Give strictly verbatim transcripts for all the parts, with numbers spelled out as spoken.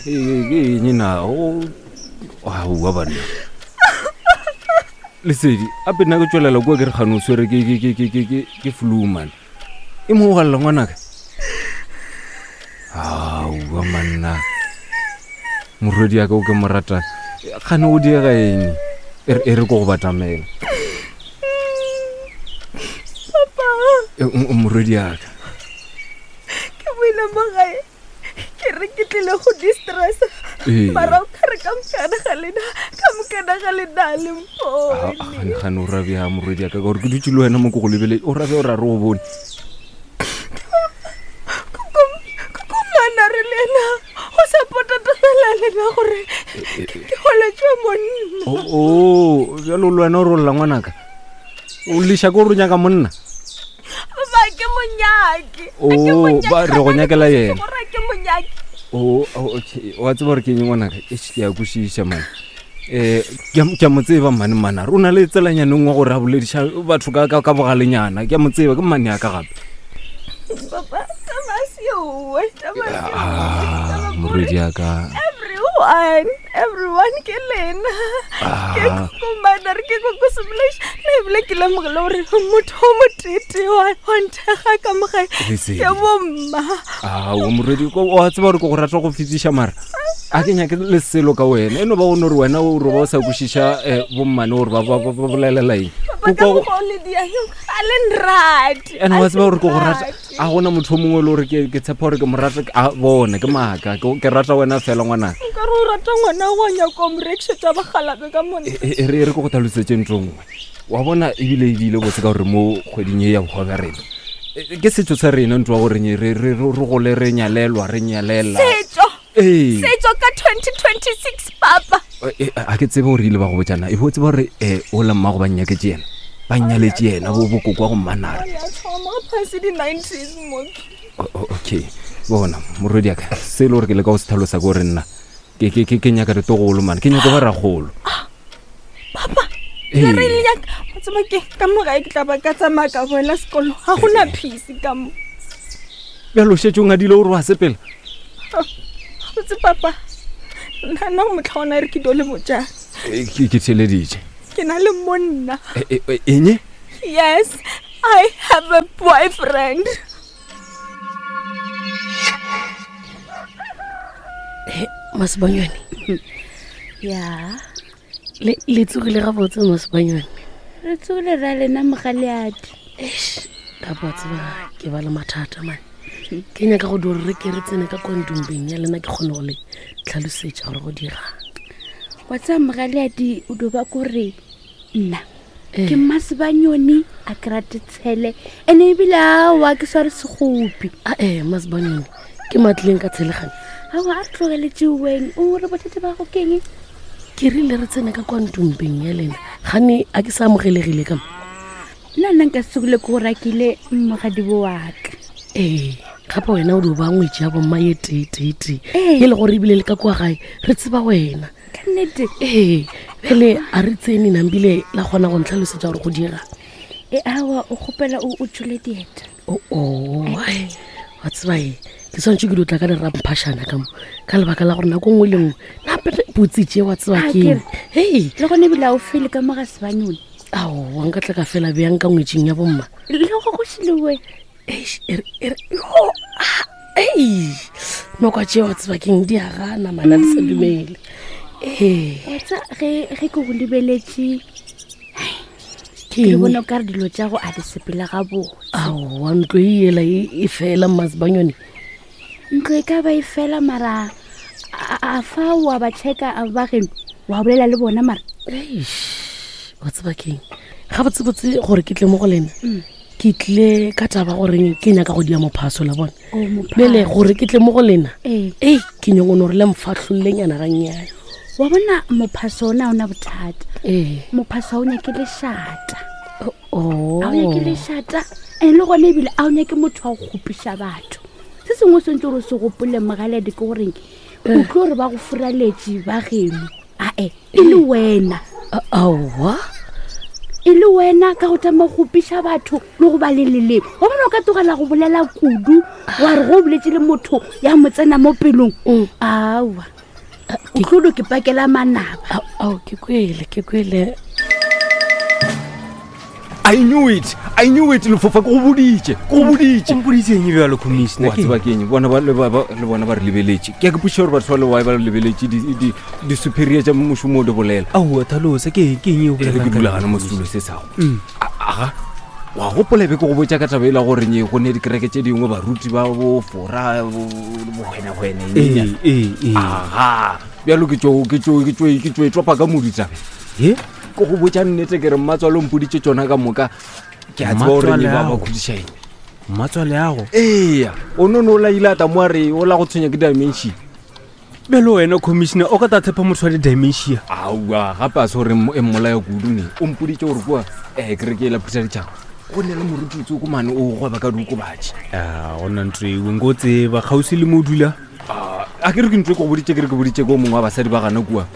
Ke eng na o aowa banna Lesedi ape nna ke tswelela kua ke re kgane o swere ke ke ke ke ke ke ke flu man e mo galela ngwanaka aowa manna morwedi ya ka o ke mo rata kgane o diega eng e re e re ko go batamela Papa, E, m- morwedi ya ka ke boile mo gae ke re ke tlile go distressa Ee. mara o kare ka mokana ga lena ka mokana ga lena le mpone gane gane o rabea morwedi ya ka ka gore ke dutse le wena mo ke go lebele o rabea o ra re o bone komana re le ena go support-a tabela lena gore ke goletswe monna o o, bjalo le wena o rolla ngwanaka o leša ke gore o nyaka monna ba ke monyaki O, ba re go nyakela yena. gore ke monyaki o o, okay wa tseba gore ke eng ngwanaka eish, ke a kwešiša mane um ke a- ke a mo tseba mane manare o na le tselanyaneng wa gore a bolediša batho ka- ka ka bogalenyana ke a mo tseba ke mmane ya ka gape papa tabasioe Ah, morwedi ya ka everyone everyone ke lena ke Ah. kokomana re ke kokosemolaiša nna ebile ke lemogile gore motho o motete wa wa nthekga ka mogae Lesedi. ke bomma ao morwedi ko- wa tseba gore ke go rata go fetiša mara a ke nyake le selo ka wena e no ba gone gore wena o roba o sa kwešiša um bommane gore ba ba- ba ba bolelela eng papa ka Ko- ko- mokgwa o le diang ga le nrate ene wa tseba gore ke go rata rate. a gona motho o mongwe e le gore ke ke tshepa gore ke mo rata a bona ke maaka ke ke rata wena fela ngwanaka nkare o rata ngwana wa nyaka o mo rekišetša bagalabe ka monna E- e e re e re ke go tlhalosetse ntho e nngwe wa bona ebile e diile botse ka gore mo kgweding e ya bohwa bja rena e- ke setso sa rena ntho wa goreng re re- re re gole re nyalelwa re nyalela setso ee setso ka twenty twenty-six papa E, e, a ke tsebe gore ile ba go botsana e bo tseba gore um ola mmago ba nnyaketse yena ba nnyaletse yena bo bokoko wa go mmanare ya thoma phase di-nineties moki O- o- okay bona morwedi aka se e le gore ke le ka go se tlhalosa ke gore nna ke- ke ke- ke nyaka ditogolo mane ke nyaka ba ragolo papa Ee. le re le nyaka wa tseba ke ka mogae ke tla ba ka tsamaya ka boela sekolo ga gona peace ka mo bjalo šetse o ngadile gore wa sepela botse papa nna nna go motlha ona re ke dio le botjang E, ke ke theeleditše ke na le monna E, e, e, eng yes i have a boyfriend Masebanyone ya le le tsogile gabotse Masebanyone re tsogile ra lena mogaleadi eish kapa wa tseba ke ba le mathata mane ke nyaka go di gore re ke re tsene ka kontumpeng ya lena ke kgone go le tlhalosetša gore go dirang wa tseba mogaleadi o do ba kore nna Eh. ke mmasebanyone a ke rate tshele ene ebile aowa ke sware segopi ae Masebanyone ke matlileng ka tshelegane aowa a re tlogeletšeweng o re bothata ba go keng ke rile re tsene ka kwantumpeng ya lena gane a ke sa amogelegile ka mo nna nna nka sekole ke go rakile mogadibo waka ee gape wena o di o ba ngwetši ya bomma ye teeteetee Ee. e le gore ebile le ka kua gae re tseba wena ka nnete ee bjale a re tsene nambile la kgona go ntlhalosetša gore go dira e aowa o kgopela o o tsole dieta oo wa tseba e ke tshwanetse ke di o tla ka leramphašana ka mo ka lebaka la gore nako nngwe le nngwe nape botse tše wa tseba Ah, keng ke re. hei le gone ebile a o fele ka mo ga sebanyone aowa nka tla ka fela bjang ka ngwetšing ya bomma le go go šilewe Eish, e re- e re- yo, ah, ei nokwa tše wa tseba keng di a gana mana di sa dumele ee wa tsa ge ge ke go lebeletše ke ke eng? bona o ka re dilo tša go a di sepela gabotse aowa ntlo e ela e e fela mmasebanyone ntlo e ka ba e fela mara a- a a fa wa ba checka a ba geno wa bolela le bona mara eish wa tseba keng gabotsebotse gore ke tle mo go lena ke tlile ka taba goreng ke nyaka go dia mophaso la bona O, mophaso. bjale gore ke tle mo go lena Ee. ei ke nyongono gore le mfatlhollenyana gannyane wa bona mophaso ona a ona bothata ee mophaso ga o nyake lešata o ga o nyake lešata and le gone ebile a o nyake motho wa go kgopiša batho se sengwe o swantse gore o se gopole mogaledi ke goreng o tlo gore ba go furaletše ba geno ae e le wena aowa E le wena ka go tama go gopiša batho le go ba le leleme. Wa bona o ka tlogela go bolela kudu wa re go boletse le motho ya mo tsena mo pelong. Mm. Aowa. O tlo do ke pakela manaba. Ao, ke kwele, ke kwele. I knew it. I knew it lefofa ke go boditše. Ke go boditše. O mpoditseng bjalo commissioner? Wa tseba ke eng? Bona ba le ba ba- le bona ba re lebeletše. Ke a ke potšiša gore batho ba le why ba re lebeletše di di di superior tša mošomo o di bolela. Aowa thalosa ke ke eng e o E re bolelang ke ka dula yona, gana mo Commissioner? setulo se sago. Mm. Aga. Wa gopola be ke go botša ka taba e la gore nye go ne dikereke tše dingwe baruti ba bo fora bo bohwenahwene Ee, ee, ee. Aga. Bjalo ke tšo ke tšo ke tšo ke tšo e topa ka modu taba. He? Ke go botša nnete ke re mmatswalo o mpoditše tšona ka moka. Ke a tseba gore nye ba ba Mmatswale ao. kgodiša eng. Mmatswale ago. Eya, o no no la ile a ta mo a re o la go tshwenya ke dementia. Bjalo wena commissioner o ka ta tshepa motho wa di-dementia? Aowa, gape a se gore e mmolaya kudu ne. O mpoditše gore kua um kereke e la phutha ditšhaba go ne le moruti tsoko mane o gweba ka diokobatši. A gona ntho eo nko tseba kgauswi le mo o dula. Ah, a ke re ke ntho e ke go boditše ke re ke boditše ko mongwe wa basadi ba gana kua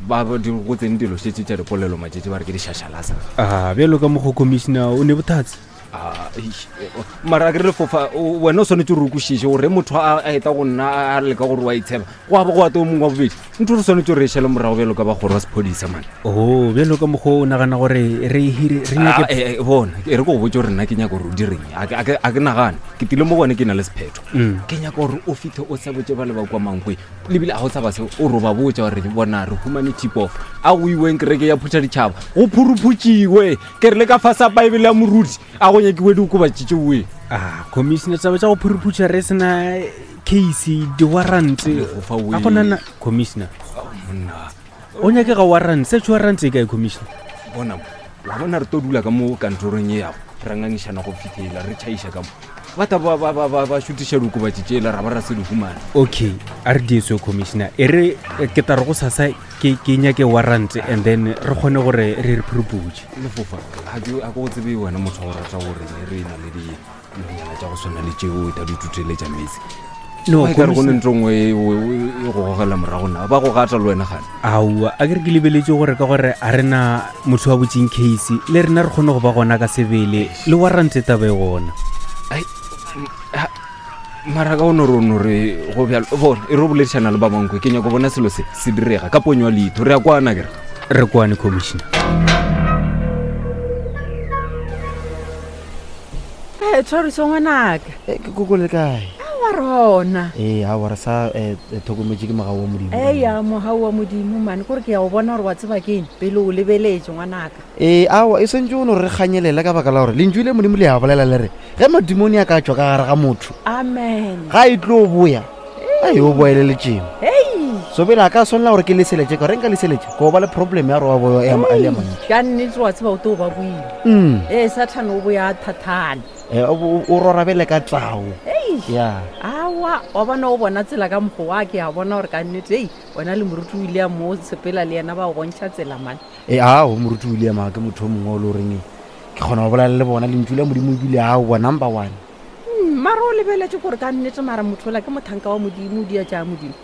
ba ba di go tsene dilo šetse tša dipolelo matšatši ba re ke dišašalasa. A bjalo ka mokgwa commissioner o ne bothatse. Ah, eish, eh, oh, mara a ke re lefofa o- wena o swanetse gore o kwešiše gore motho a a eta go nna a leka gore wa itsheba go a ba go ate o mongwe wa bobedi ntho re swanetse gore e šale morago bjalo ka bagoro wa sephodisa mane. Oh, bjalo ka mokgwa o nagana gore re hire re Ah, nyake eh, eh, bona e re ko go botse gore nna ke nyaka gore o direng a ke- a ke a ke nagane ke tile mo gone ke na le sephetho. Mm. Ke nyaka gore o fitlhe o sa botse ba le ba kwa mankwe lebile a go sa ba se o roba botsa gore bona re humane tip off a go iweng kereke ya phutha ditšhaba go phuruphutsiwe ke re le ka fasa baebele ya moruti a go nyakiwe diokobatši tšeoe. Ah, commissioner taba tša go phuruphuša re sena case di-warrant. Lefofa wee. A gona na commissioner. Monna O nyakega warrant, search warrant e kae commissioner? bona mo wa bona re tlo dula ka mo kantorong e yago ra ngangišana go fitlhela re tšhaiša ka mo ba ta ba- ba- ba ba- ba šutiša diokobatši tšela ra ba ra se di humana. Okay, a re dieso commissioner. E re eh, ke tla re go sasa ke ke nyake warrant and then re kgone gore re re phuruphuše. Lefofa ga ke a ke go tsebe wena motho wa go rata gore re na le dinonyana tša go tshwana le tšeo ta di tuteletša metsi. No, e kare go ne commissioner. ntho nngwe e o- e go gogela morago na ba go gata le wena gane. Aowa, a ke re ke lebeletse gore ka gore a rena motho wa botseng case le rena re kgone go ba gona ka sebele le warrant taba e gona. Ai, m- ha- mara ka o no re o no re go bjalo bona e re o boledišana le ba bankwe ke nyako bona selo se se direga ka ponyo ya leitho re ya kwana kere. Re kwane commissioner. Ee, tshwariso ngwanaka. Eh, ke koko le kae? Aowa rona. Ee, aowa re sa eh, eh, tlhokometše ke mogau wa modimo. Eya, mogau wa modimo mane kore ke ya go bona gore wa tseba ke eng pele o lebeletse ngwanaka. Ee, aowa e swantse o no re kganyelela ka baka la gore lentšu le modimo le a bolela le re ge madimone a ka tšwa ka gare ga motho Amen. ga e tlo boya ai o boele letšemo. Hei. So pele a ka swanela gore ke leseletse ka gore nka leseletse ko ba le problem ya gore wa boya ya a le a mantši. Ka nnete wa tseba o tlo ba boile. Mm. Ee, Sathane o boya a thathana. Eh, o o rorabele ka tao. Hei. Ya. Aowa, wa bona o bona tsela ka mokgwa wa ke a bona gore ka nnete ei wena le moruti o ile a mo sepela le yena ba o bontšha tsela mane. Ee, ao moruti William a ke motho o mongwe o le goreng ke kgona go bolela le bona lentšu la modimo ebile aowa number one. Mm, mara o lebeletse gore ka nnete mara motho ola ke mothanka wa modimo o dia tša modimo.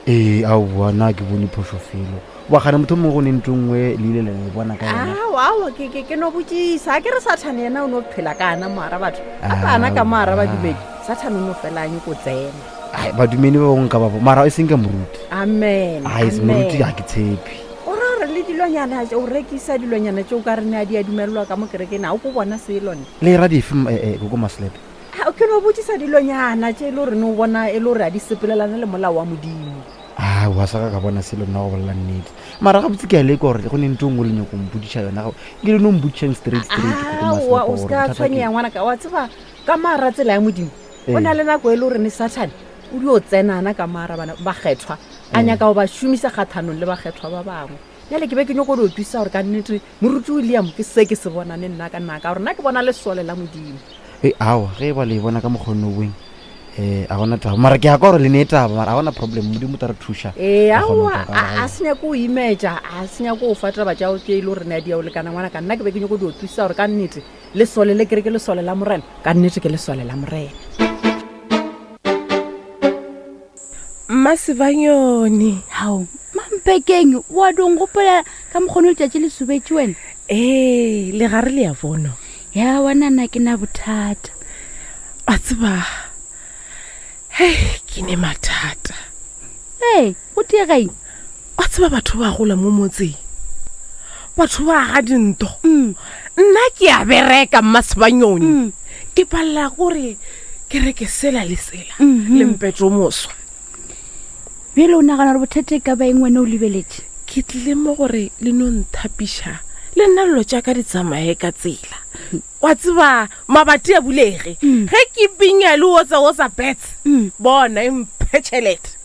Ee, aowa nna ke bone phošo felo wa gane motho o mongwe go ne ntho nngwe le ile la e bona ka yona. Aowa, aowa, ke ke ke no botsisa a ke re Sathane yena o no phela ka ana moara batho a ka ana ka moara badumedi Sathane o no fela a nyako tsena. Ai, badumedi ba bangwe ka babo mara e seng ka moruti. Amen. Ai, se moruti amen. ga ke tshepe. O ra gore le dilonyana tse o rekisa dilonyana tse o ka re ne a di a dumelelwa ka mo kerekeng a o ko bona selo ne. Le ra dife m- eh, eh, koko Maslepe? A, ke no botsisa dilonyana tse e le gore ne o bona e le gore a di sepelelane le molao wa modimo. Aowa sa ka ka bona selo nna go bolela nnete mara gabotse ke a leka gore go ne ntho e nngwe le nyako mpodiša yona ga- ke le no mpodišang straight straight koko Aowa, Maslepe o gore se ka bothata ke tshwenyega ngwanaka wa tseba ka maara tsela ya modimo o Ee. na le nako e le gore ne Sathane o dio tsenana ka maara bana bakgethwa a nyaka go ba šomisa kgathanong le bakgethwa ba bangwe. Bjale ke be ke nyako di utlwisisa gore ka nnete moruti William ke se ke se bonane nna ka nna ka gore nna ke bona lesole la modimo. Ee, aowa ge e ba le e bona ka mokgonne oweng um a gona taba mara ke ya ka gore le ne taba mara a gona problem modimo o tla re thuša. Ee, Ra kgona aowa go tla ka a gae. a se nyako o imetša a se nyako o fa taba tšao tše e le gore ne a di ya o lekana ngwana ka nna ke be ke nyako di utlwisisa gore ka nnete lesole le kere ke lesole la morena ka nnete ke lesole la morena. Mmasebanyone. Hao, mampekeng wa dong gopola ka mokgone letšatši le sobetše wena. Ee, le gare le ya bono. Ya wana nna ke na bothata. Wa tseba, hei, ke ne mathata. Ee, go tiega eng? Wa tseba batho ba gola mo motseng, batho ba aga dinto. Mm. Nna ke a bereka mmasebanyoni, Mm. ke palela gore ke reke sela le sela Mhm. le mpete o moswa. Bjale o nagana gore bothata e ka ba eng wena o lebeletše? Ke tlile mo gore le no nthapiša le nna dilo tša ka di tsamaye ka tsela. Wa tseba mabati a bulege Mm. ge ke pinya le otsa otsa bets, Mm. bona e mphe tšhelete.